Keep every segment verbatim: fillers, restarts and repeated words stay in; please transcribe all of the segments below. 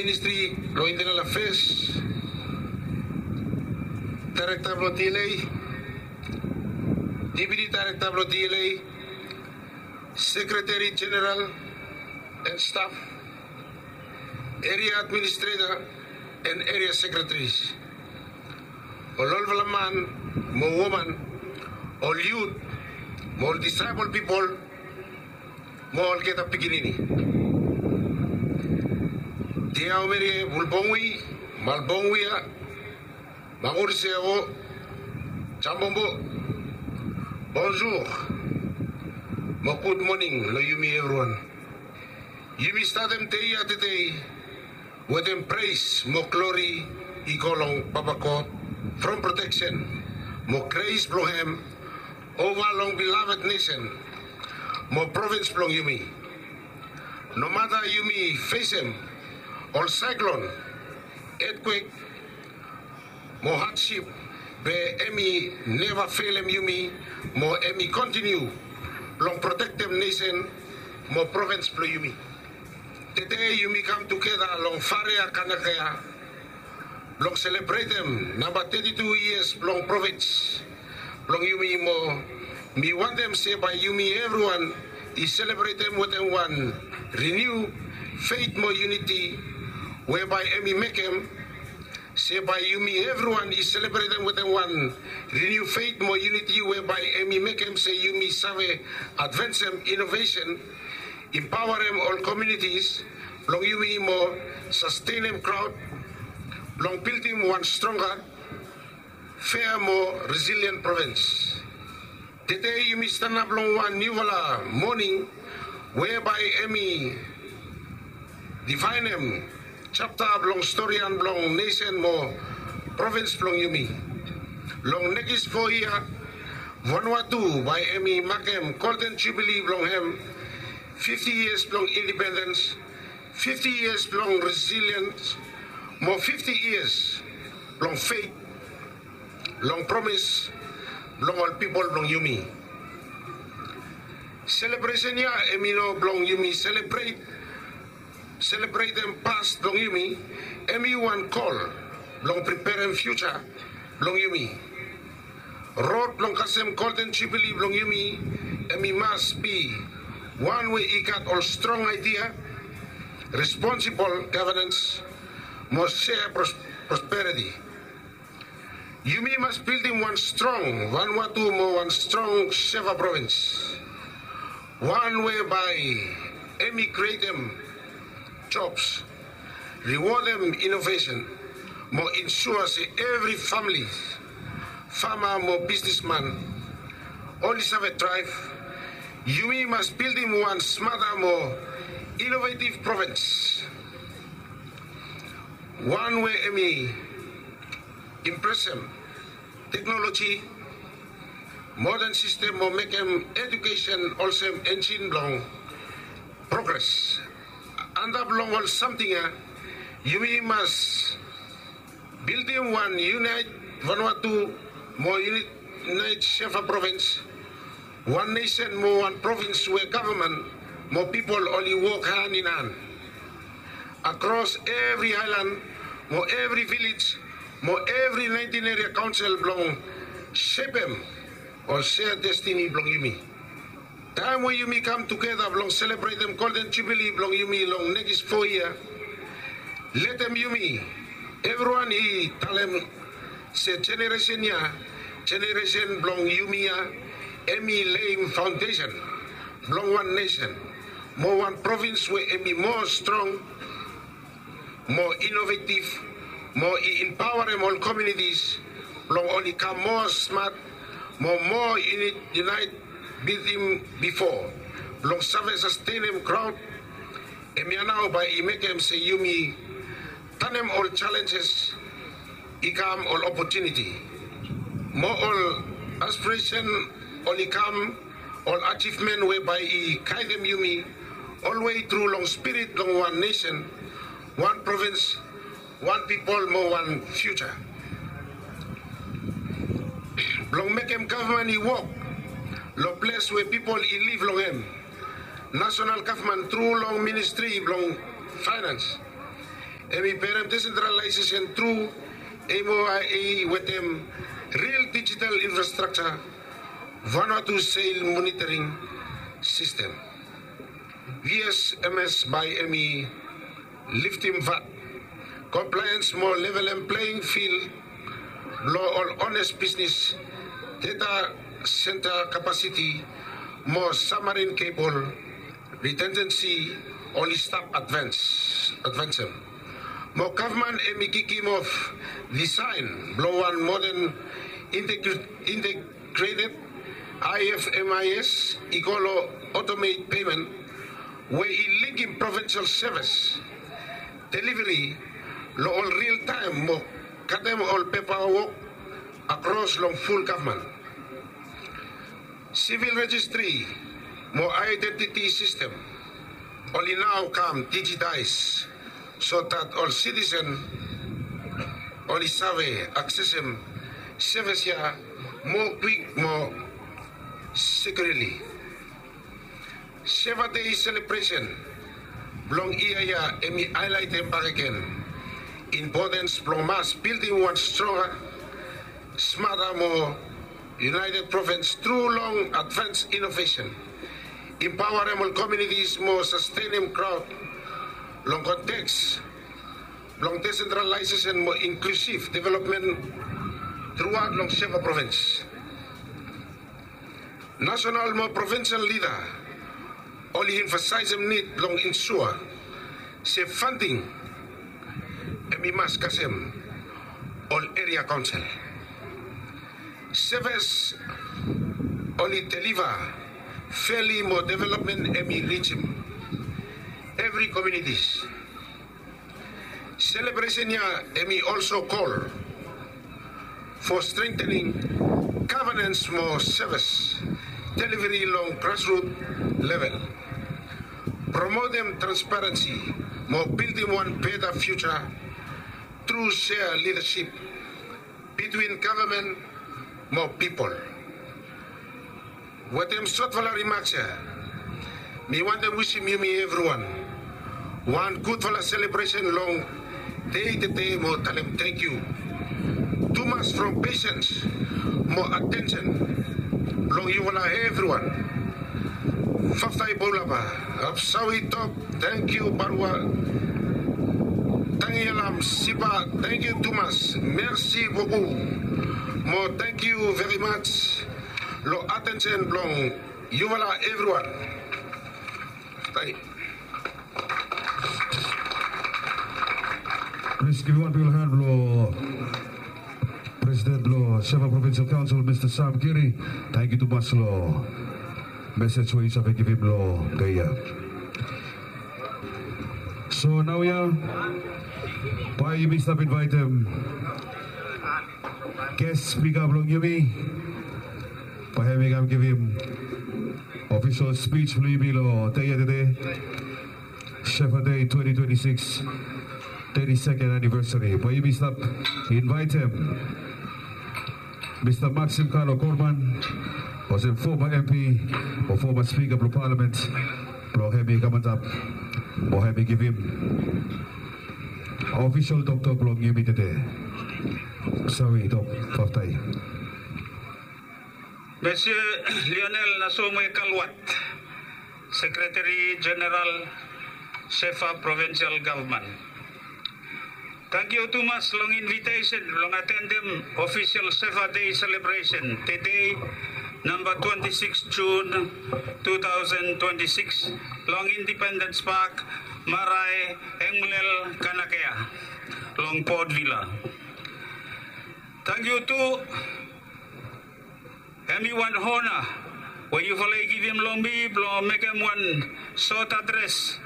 Ministri blong Internal Affairs, Daerekta blong D L A, Deputi Daerekta blong D L A, Sekretari Jeneral and staf, Eria Administreta and Eria Sekretaris, ol olfala man mo woman, ol yut mo ol disaepol pipol, mo olgeta pikinini. Diaomerie Bulbongwi, Malbongwia, Manguriseo, Jambombo, bonjour mo gud moning long yumi evriwan. Yumi statem dei ya tede wetem pres mo glori i go long Papa God from proteksen mo gres blong hem ova long beloved nesen mo provins blong yumi. Nomata yumi fesem ol saeklon, etkwek mo hadsip, be hem i neva felem yumi mo hem i kontiniu blong protektem nesen mo provins blong yumi. Tede yumi kam tugeta long Farea Kanakea blong selebretem namba teti tu yias blong provins blong yumi mo mi wantem se bae yumi evriwan i selebretem wetem wan riniu fet mo yuniti we bae hem i mekem se bae yumi evriwan i selebretem wetem wan riniu fet mo yuniti we bae hem i mekem se yumi save advansem inovesen, empaoarem ol komiunitis blong yumi mo sastenem graot blong bildim wan stronga, fea mo resilien provins. Tede yumi stanap long wan niufala moning we bae hem i difaenem japta blong storian blong nesen mo provins blong yumi. Long nekis fo yia Vanuatu bae hem i makem Golden Jubili blong hem, fifti yias blong indipendens, fifti yias blong resiliens mo fifti yias blong fet long promis blong ol pipol blong yumi. Selebresen ya hem i no blong yumi selebret, selebretem pas blong yumi, hem i wan kol blong preperem fiuja blong yumi. Rod blong kasem Golden Jubili blong yumi hem i mas bi wan we i gat ol strong aedia, responsibol gavenens mo sea prosperiti. Yumi mas bildim wan strong Vanuatu mo wan strong Seva provins, wan we bae hem i krietem jobs, riwodem inovesen mo insua se evri famili, fama mo bisnisman oli save draev. Yumi mas bildim wan smata mo inovetiv provins, wan we hem i impresem teknoloji, moden sistem mo mekem ejukesen olsem enjin blong progres. Antap long ol samting ya yumi mas bildim wan yunaet Vanuatu mo yunaet Seva provins, wan nesen mo wan provins we gavman mo pipol oli wok han in han akros evri aelan mo evri vilej mo evri naentin eria kaonsel blong sepem ol sea destini blong yumi. Taem we yumi kam tugeta blong selebretem Golden Jubili blong yumi long nekis fo yia, letem yumi evriwan i talem se jeneresen ya, jeneresen blong yumi ya, hem i leim faondesen blong wan nesen mo wan provins we hem i moa strong, moa inovetiv, mo i empaoarem ol komiunitis blong oli kam moa smat mo moa yunaet bitim bifo blong save sastenem graot. Hemia nao bae i mekem se yumi tanem ol jalenjes i kam ol opotuniti mo ol aspiresen oli kam ol ajivmen we bae i gaedem yumi olwe tru long spirit blong wan nesen, wan provins, wan pipol mo wan fiuja. Blong mekem gavman i wok long ples we pipol i liv long hem, nasonal gavman tru long ministri blong faenans Hemi perem decentralization tru M O I A wetem real digital infrastructure, Vanuatu sail monitoring system, V S M S, bae hemi liftem VAT compliance mo levelem playing field blong ol honest business, data center capacity mo submarine cable redundancy oli stap advance, advancem. Mo gavman hemi kikim of design blong wan modern integr-, integrated I F M I S i go long automate payment we i linkem provincial service delivery long ol real taem mo katem ol pepa wok akros long ful gavman. Civil registry mo identity system oli nao kam digitize so that ol citizen oli save aksesem service ya moa kwik mo securely. Seva Day celebration blong yia ya hemi haelaitem bakegen importance blong mas bildim wan stronga, smata mo united province tru long advance innovation, empaoarem ol communities mo sastenem kraod long konteks blong decentralization mo inklusiv developmen truaot long Seva provins. Nasenal mo provinsel lida oli emfasaesem nid blong ensua se fanding hemi mas kasem ol eria kaonsel. Sevis oli deliva feli mo developmen hemi rijim evri komunitis. Selebresen ya hemi olso kol fo strengtening gavanens mo sevis deliveri long grasrut level, promotem transparensi mo bildim wan beta fiuja tru sea lidasip bitwin gavman mo pipol. Wetem sotfala rimaks ya, mi wantem wisim yumi evriwan wan gudfala selebresen long dei tede mo talem tangkiu tumas from pesens mo atensen long yufala evriwan. Faftai Bolaba, Apsawi Tok, tangkiu Barua, Tangialam Siba, tangkiu tumas, Mersi Boku, mo tangkiu verimaj long atensen blong yufala evriwan. Faftai. Plis givim wan bigfala han blong Presiden blong Seva Provincial Council, Mista Sam Giri. Tangkiu tumas long mesej we yu save givim long dei ya. So naoia bae yumi stap invaetem ges spika blong yumi. Bae hemi kam givim ofisol spij blong yumi long dei ya tede, Seva Dei twenti twenti sikis, teti seken anivesari. Bae yumi stap invaetem Mista Maxim Kalo Korman, olsem foma M P o foma spika blong palamen, blong hemi kam antap mo hemi givim ofisol toktok blong yumi tede. Sawi Tok, faftai. Mesye Lionel Nasomwe Kalwat, Sekretari Jeneral Seva Provincial Gavman. Tangkiu tumas long invitesen blong atendem ofisol Seva Dei selebresen tede, namba twenti sikis Jun tu taosen twenti sikis, long Independens Pak, Marae, Engmlel, Kanakea, long Port Vila. Tangkiu tu Hemi wan ona we yufala i givim long mi blong mekem wan sot adres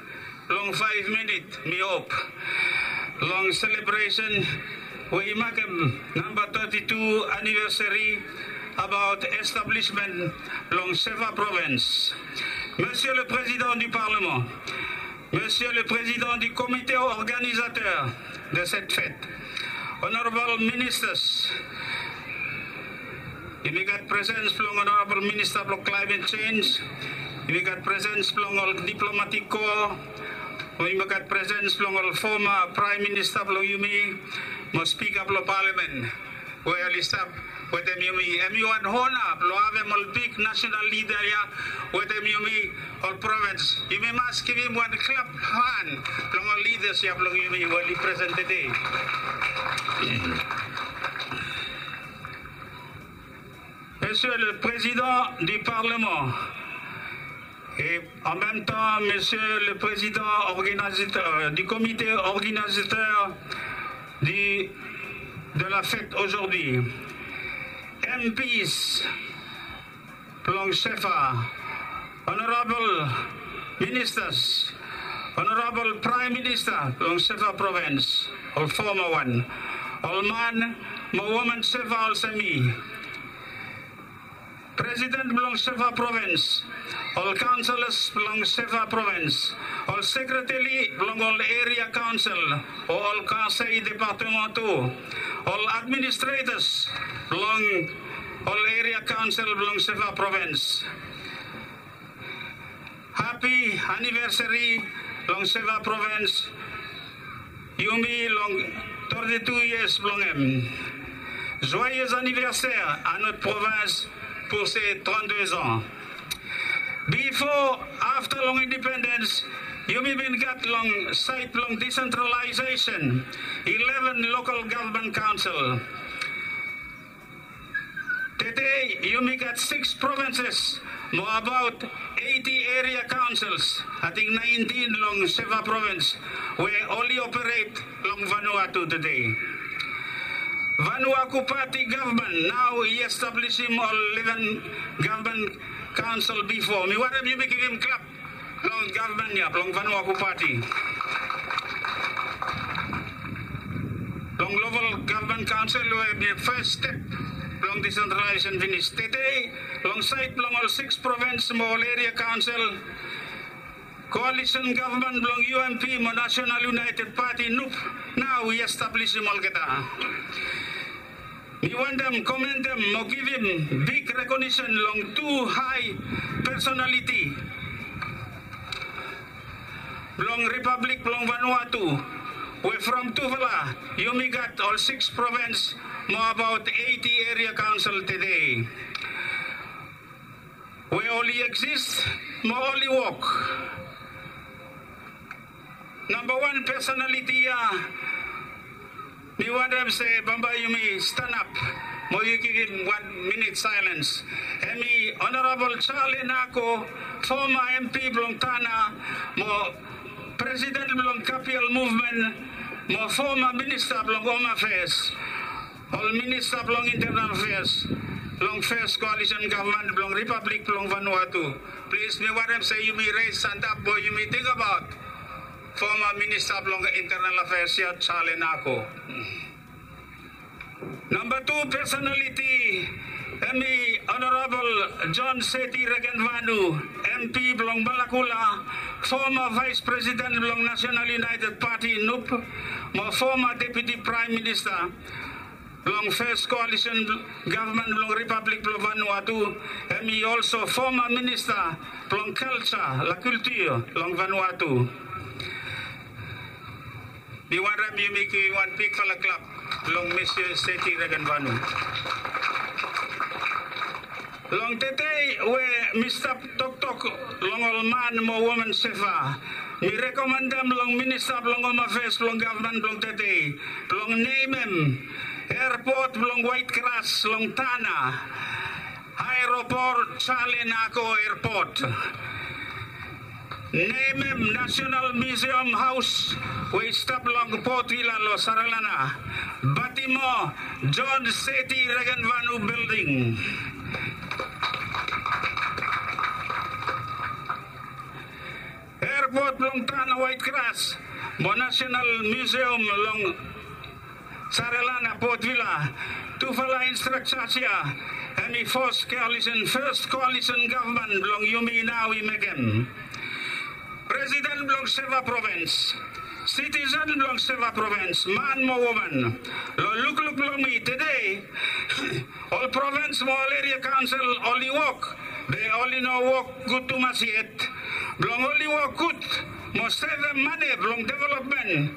long faef minit, mi hop, long selebresen we i makem namba teti tu anivesari abaot establismen blong Seva Provins. Monsieur le Président du Parlement, Monsieur le Président du Comité organisateur de cette fête, Honorable Ministers, yumi gat presens blong Honorable Minister blong Climate Change, yumi gat presens blong ol Diplomatic Corps, Mo yumi gat presens blong ol foma praem minista blong yumi mo spika blong palamen we oli stap wetem yumi. Hemi wan ona blong havem ol big nasenal lida ya wetem yumi ol provens. Yumi mas givim wan klap han blong ol lidas ya blong yumi we oli presen tede. Monsieur le Président du Parlement, et en même temps, Monsieur le Président organisateur, euh, du comité organisateur du, de la fête aujourd'hui, M Ps blong CEFA, honorable ministers, honorable praem minista blong CEFA provens, ol foma wan, ol man mo woman CEFA olsem mi, presiden blong CEFA provens, ol kaonselas blong CEFA provens, ol sekreteri blong ol eria kaonsel o ol konsei departemen tu, ol administretas blong ol eria kaonsel blong CEFA provens. Hapi anivesari long CEFA provens. Yumi long toti tu yias blong hem. Joyeux anniversaire à notre province pour ses trente-deux ans. Bifo, afta long independens, yumi bin gat long saed blong desentralaesesen ileven lokal gavman kaonsel. Tede yumi gat sikis provenses mo abaot eiti eria kaonsels, ating naentin long CEFA provens we oli operet long Vanuatu tede. Vanuatu Pati gavman nao i establisim ol ileven gavman kaonsel bifo. Mi wantem yumi givim klap long gavman ya blong Vanuatu Pati. Long lokal gavman kaonsel we hemi fes step blong desentralaesesen finis. Tede long saed blong ol sikis provens mo ol eria kaonsel, koalisen gavman blong UMP mo National United Party, NUP, nao i establisim olgeta. Mi wantem komendem mo givim big rekonisen long tu hae pesonaliti blong Ripablik blong Vanuatu, we from tufala yumi gat ol sikis provens mo abaot eiti eria kaonsel tede we oli eksis mo oli wok. Namba wan pesonaliti ya, mi wantem se bambae yumi stanap mo yu givim wan minit saelens. Hemi Honorabol Charlie Nako, foma MP blong Tanna mo presiden blong Kapiol Muvmen mo foma minista blong Hom Afeas, ol minista blong Intenal Afeas long fes koalisen gavman blong Ripablik blong Vanuatu. Plis, mi wantem se yumi res antap mo yumi tingbaot foma minista blong Intenal Afeas ya, Charlie Nako. Namba tu pesonaliti hemi Honorabol John Seti Regenvanu, MP blong Malakula, foma vaes presiden blong National United Party, NUP, mo foma deputi praem minista blong fes koalisen gavman blong Ripablik blong Vanuatu. Hemi olso foma minista blong kalja, la kultur long Vanuatu. Mi wantem yumi givim wan bigfala klap long Mister Seti Regenvanu. Long tede we mi stap toktok long ol man mo woman CEFA, mi rekomendem long minista blong Hom Afeas blong gavman blong tede blong nemem airpot blong Waetgras long Tanna aeropot Charlie Nako Airpot. Nemem National Museum House we i stap long Port Vila long Saralana, batimo John Seti Regenvanu Building. Airpot blong Tanna Waetgras mo National Museum long Saralana Port Vila, tufala infrastructure ya hemi fes koalisen, fes koalisen gavman blong yumi nao i mekem. Presiden blong CEFA provens, sitisen blong CEFA provens, man mo woman, long lukluk blong mi tede, ol provens mo ol eria kaonsel oli wok, be oli no wok gud tumas yet. Blong oli wok gud, mo sevem mane blong developmen.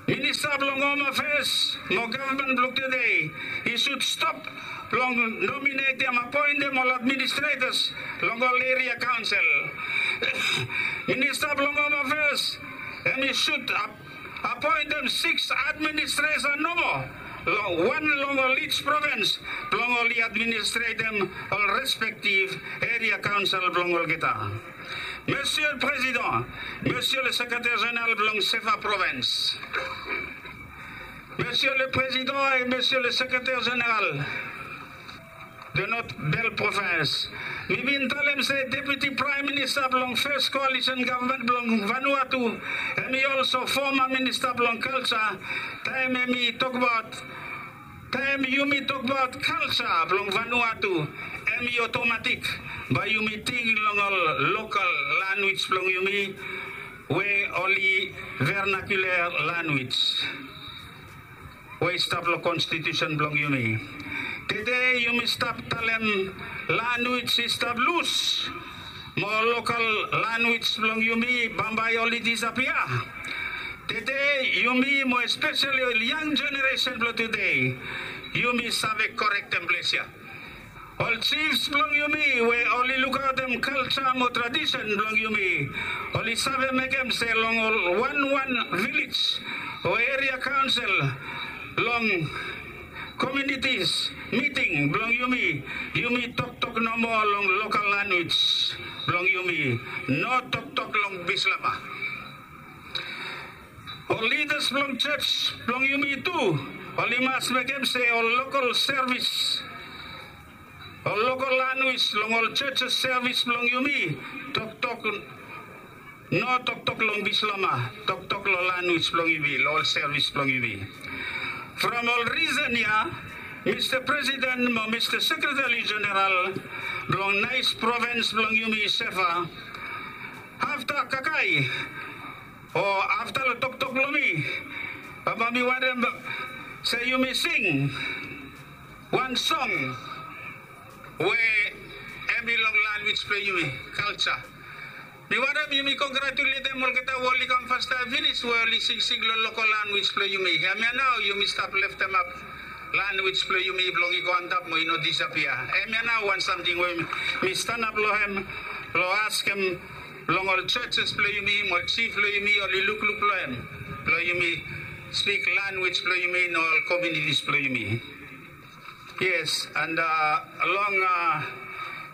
Minista blong Hom Afeas mo gavman blong tude i sud stop blong nominetem, apoentem ol administretas long ol eria kaonsel. Minista blong Hom Afeas hemi sud ap apoentem sikis administreta nomo, long wan long ol ij provens blong oli administretem ol respektiv eria kaonsel blong olgeta. Monsieur le Président, Monsieur le Secrétaire Général blong Sefa Provens, Monsieur le Président et Monsieur le Secrétaire Général de notre belle province. Mi bin talem se Deputy Prime Minister blong First Coalition Government blong Vanuatu, hemi also former Minister blong Culture, taem hemi tokbaot, taem yumi tokbaot culture blong Vanuatu, hemi otomatik bae yumi ting long ol local lanwis blong yumi, we oli vernacular lanwis we i stap long konstitusen blong yumi. Tede yumi stap talem lanwis i stap lus, mo lokal lanwis blong yumi bambae oli disapia. Tede yumi mo espeseli ol yang jeneresen blong tude, yumi save korektem ples ya. Ol jifs blong yumi we oli lukaotem kalja mo tradisen blong yumi, oli save mekem se long ol wanwan vilej o eria kaonsel, long komiunitis miting blong yumi, yumi toktok nomo long lokal lanwis blong yumi, no toktok long Bislama. Ol lidas blong jos blong yumi tu oli mas mekem se ol lokal sevis, ol lokal lanwis long ol jos sevis blong yumi, toktok, no toktok long Bislama, toktok long lanwis blong yumi, long ol sevis blong yumi. From ol risen ya, Mista Presiden mo Mista Sekretari Jeneral blong naes provens blong yumi Sefa, afta kakae o afta long toktok blong mi, bambae mi wantem se yumi sing wan song we hemi long lanwis blong yumi, kalja. Mi wantem yumi kongratuletem olgeta we oli kam fastaem finis we oli singsing long lokal lanwis blong yumi. Hemia nao yumi stap leftemap lanwis blong yumi blong i go antap mo i no disapia. Hemia nao wan samting we mi stanap long hem blong askem long ol jos blong yumi mo ol jif blong yumi oli lukluk long hem, blong yumi spik lanwis blong yumi long ol komiunitis blong yumi. Yes, and long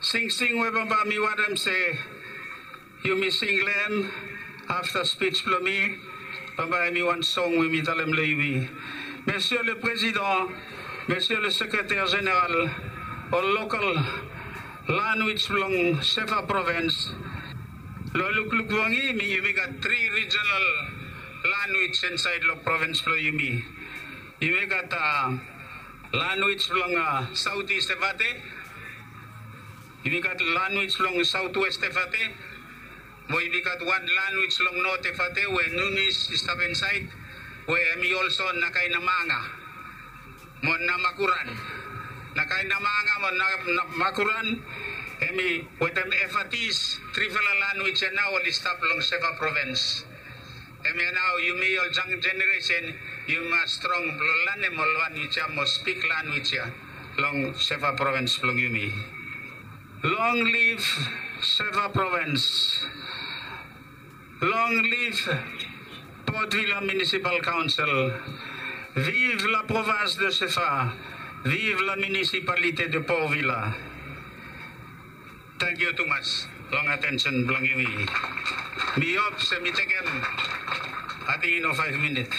singsing we bambae mi wantem se yumi sing long hem afta spij blong mi, bambae hemi wan song we mi talem long yumi. Monsieur le Président, Monsieur le Secrétaire Général, ol lokal lanwis blong Sefa provens, long lukluk blong yumi, yumi gat tri rijenal lanwis insaed long provens blong yumi. Yumi gat lanwis blong Saot Is Efate, yumi gat lanwis blong Saot Wes Efate, mo yumi gat wan lanwis long Not Efate we Nunis i stap insaed, we hemi olso Nakainamanga mo Namakuran. Nakainamanga mo Namakuran hemi wetem Efatis, trifala lanwis ya nao oli stap long Sefa provens. Hemia nao yumi ol yang jeneresen yumi mas strong blong lanem ol lanwis ya mo spik lanwis ya long Sefa provens blong yumi. Long liv Sefa provens. Long liv Port Vila Municipal Council. Vive la province de Sefa. Vive la municipalité de Port Vila. Tangkiu tumas long atensen blong yumi. Mi hop se mi tekem, ating i no faef minit,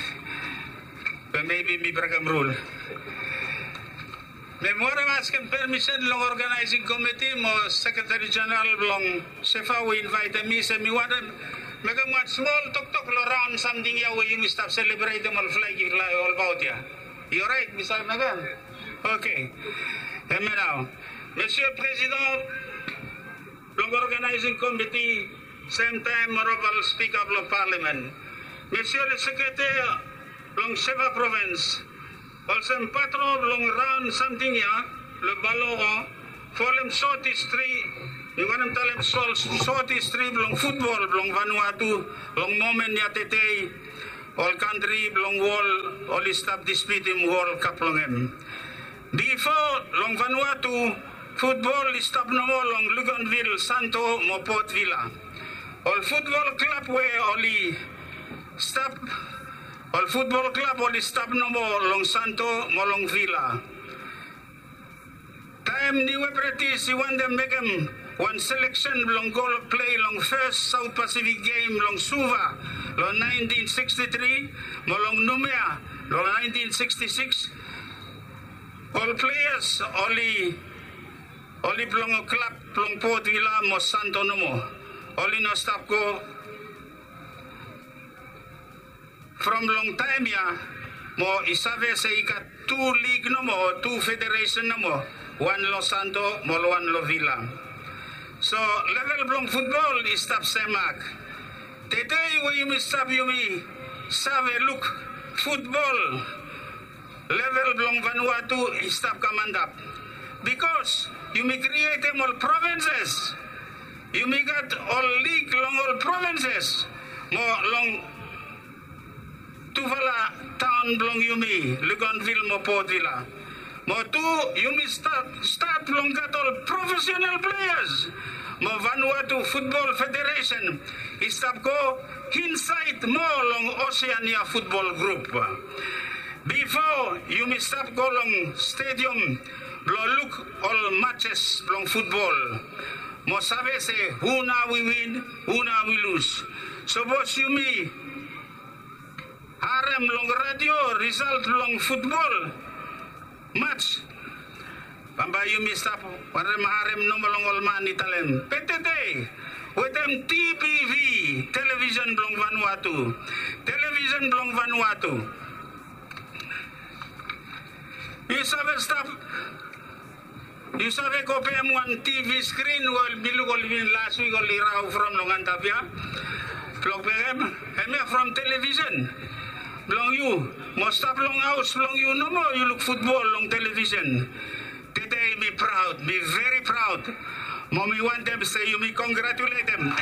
be mebi mi brekem rul. Mi wantem askem permisen long oganaesing komiti mo sekretari jeneral blong Sefa we i invaetem mi se mi wantem mekem wan smol toktok long raon samting ya we yumi stap selebretem ol flag i flae olbaot ya. I oraet mi save mekem? Oke. Hemia nao, Monsieur President blong oganaesing komiti, semtaem Onorabol Spika blong Palamen, Monsieur le Sekretari blong Sefa Provens, olsem patron blong raon samting ya long Baloro, folem Saot Is tri, Mi wantem talem sot, sot histri blong futbol blong Vanuatu long momen ya tede ol kantri blong wol oli stap dispiutim World Cup blong hem. Bifo long Vanuatu, futbol i stap nomo long Luganville, Santo mo Port Vila. Ol futbol klab we oli stap, ol futbol klab oli stap nomo long Santo mo long Vila. Taem Niue British i wantem mekem wan seleksen blong go plei long fes South Pacific Game long Suva long nineteen sixty-three mo long Noumea long nineteen sixty-six, ol pleas oli, oli blong klab blong Port Vila mo Santo nomo. Oli no stap go. From long taem ya, mo i save se i gat tu lig nomo o tu federesen nomo, wan lo Santo mo wan lo Vila. So level blong futbol i stap semak. Tede we yumi stap, yumi save luk futbol level blong Vanuatu i stap kam antap. Bikos yumi krietem ol provinces. Yumi gat ol lig long ol provinces mo long tufala taon blong yumi, Luganville mo Port Vila. Mo tu, yumi stat, stat blong gat ol profesional pleas. Mo Vanuatu Futbol Federesen i stap go insaed moa long Oseania Futbol Grup. Bifo yumi stap go long stediam blong luk ol matches blong futbol mo save se hu nao i win, hu nao i lus. Sapos yumi harem long redio risalt blong futbol mats, bambae yumi stap wantem harem nomo long ol man i talem. Be tede wetem T B V, televisen blong Vanuatu, televisen blong Vanuatu, yu save stap, yu save go pem wan T V skrin we mi luk oli win las wik, oli rau from long antap ya. Blong pem hemia from televisen blong yu. Mo stap long haos blong yu nomo, yu luk futbol long televisen. Tede mi praod, mi veri praod. Mo mi wantem se yumi kongratuletem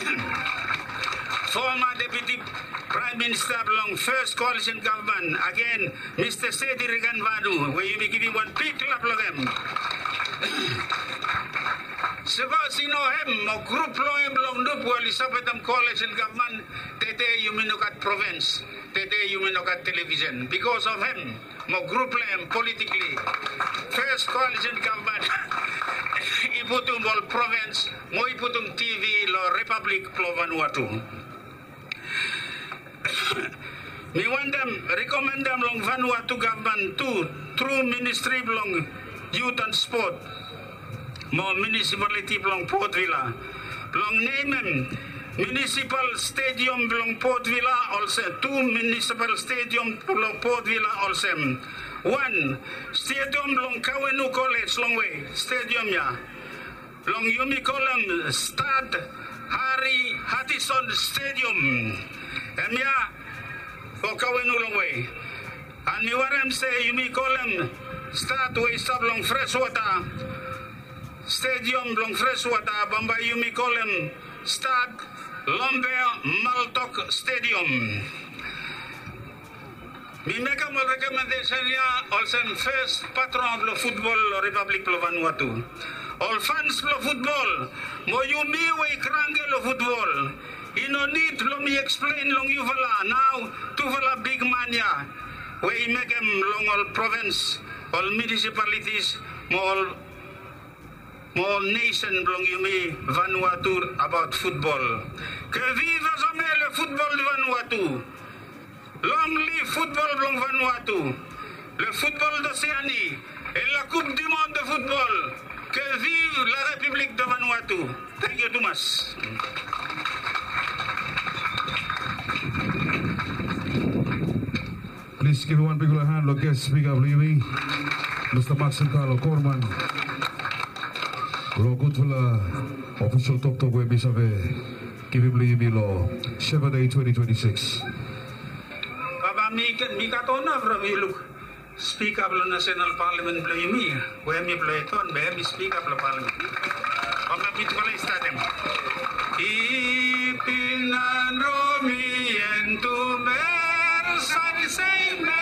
foma Deputi Praem Minista blong Fes Koalisen Gavman, agen, Mista Seti Riganvanu, we yumi givim wan big klap long hem. Sapos i no hem mo grup blong hem blong NUP we oli sapotem koalisen gavman, tede yumi no gat provins, tede yumi no gat televisen. Bikos of hem mo grup blong hem politikli, Fes Koalisen Gavman i putum ol provins mo i putum T V long Ripablik blong Vanuatu. Mi wantem rekomendem long Vanuatu gavman tu, tru Ministri blong Yut an Spot mo munisipaliti blong Port Vila, blong nemem munisipal stediam blong Port Vila olsem, tu munisipal stediam blong Port Vila olsem. Wan, stediam blong Kawenu Kolej longwe, stediam ya blong yumi kolem Stad Harry Hartison Stediam. Hemia fo Kawenu longwe. An mi wantem se yumi kolem stad we i stap long Freswata, stediam blong Freswata, bambae yumi kolem Stad Lomber Maltok Stediam. Mi mekem ol rekomendesen ya olsem fes patron blong futbol long Ripablik blong Vanuatu. Ol fans blong futbol, mo yumi we i kranke long futbol, i no nid blong mi eksplen long yufala nao tufala bigman ya we i mekem long ol provins, ol munisipalitis mo ol mo nesen blong yumi Vanuatu abaot futbol. Que viva jamais le football de Vanuatu. Long live futbol blong Vanuatu. Le football d'Océanie et la Coupe du monde de football. Que vive la République de Vanuatu. Thank you tumas. Plis givim wan bigfala han long ges spika blong yumi, Mista Maxim Carlo Corman, long gudfala ofisol toktok we mi save givim long yumi long Shepherd Day twenty twenty-six. Baba, mi gat, mi gat ona from yu luk spika blong nasenal palamen blong yumi, we hemi blong Eton, be hemi spika blong palamen. Bambae mitufala i statem. I bin anro mi en tumer sani sei me